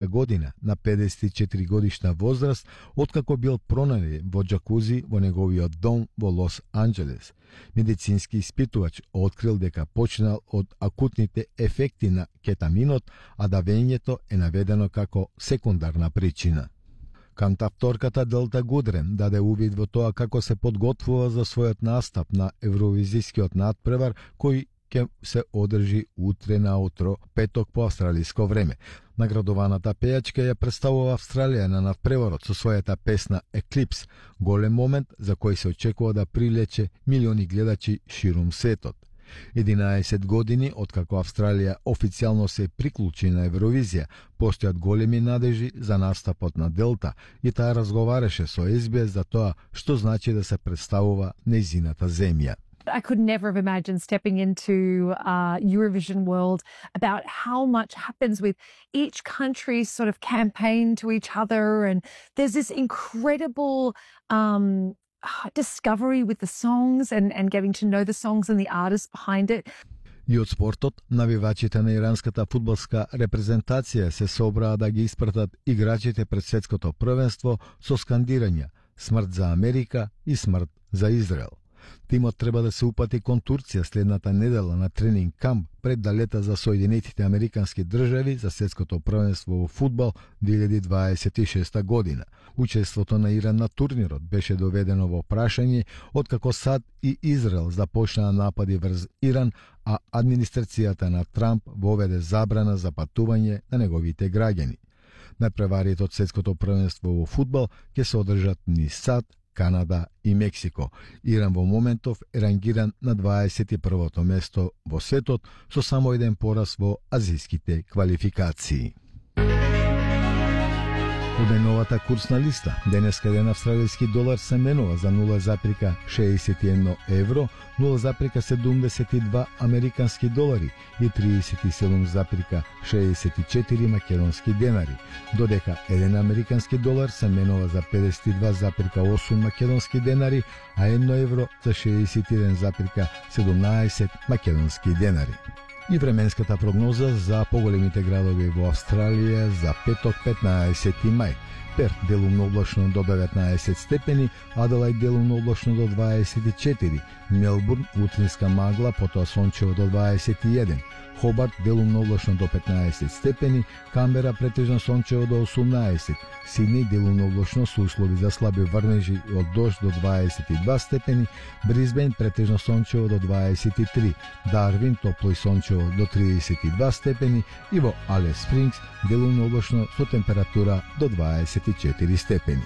година на 54 годишна возраст, откако бил пронајден во џакузи во неговиот дом во Лос Анџелес. Медицински испитувач открил дека починал од акутните ефекти на кетаминот, а давењето е наведено како секундарна причина. Кантавторката Делта Гудрен даде увид во тоа како се подготвува за својот настап на Евровизискиот надпревар кој ќе се одржи утре наутро, петок по австралиско време. Наградованата пејачка ја представува Австралија на надпреварот со својата песна Eclipse, голем момент за кој се очекува да привлече милиони гледачи ширум светот. 11 години откако Австралија официјално се приклучи на Евровизија, постојат големи надежи за настапот на Делта и таа разговараше со SBS за тоа што значи да се представува нејзината земја. I could never have imagined stepping into Eurovision world about how much happens with each country's sort of campaign to each other, and there's this incredible discovery with the songs and getting to know the songs and the artists behind it. И од спортот, навивачите на иранската фудбалска репрезентација се собраа да ги испратат играчите пред светското првенство со скандирања "Смрт за Америка" и "Смрт за Израел". Тимот треба да се упати кон Турција следната недела на тренинг камп пред да лета за Соединетите Американски држави за светското првенство во фудбал 2026 година. Учеството на Иран на турнирот беше доведено во прашање откако САД и Израел започнаа напади врз Иран, а администрацијата на Трамп воведе забрана за патување на неговите граѓани. Надпреварите од светското првенство во фудбал ќе се одржат низ САД, Канада и Мексико. Иран во моментов е рангиран на 21-то место во светот со само еден пораз во азијските квалификации. Оденовата курсна листа. Денеска еден австралиски долар се менува за 0,61 евро, 0,72 американски долари и 37,64 македонски денари, додека еден американски долар се менува за 52,8 македонски денари, а 1 евро за 61,17 македонски денари. И временската прогноза за поголемите градови во Австралија за петок 15 мај. Перт делумно облачно до 19 степени, Аделајд делумно облачно до 24, Мелбурн утринска магла, потоа сончево до 21, Хобарт делумно облачно до 15 степени, Камбера претежно сончево до 18, Сидни делумно облачно со услови за слаби врнежи од дожд до 22 степени, Брисбен претежно сончево до 23, Дарвин топло и сончево до 32 степени и во Алис Спрингс делумно облачно со температура до 24 степени.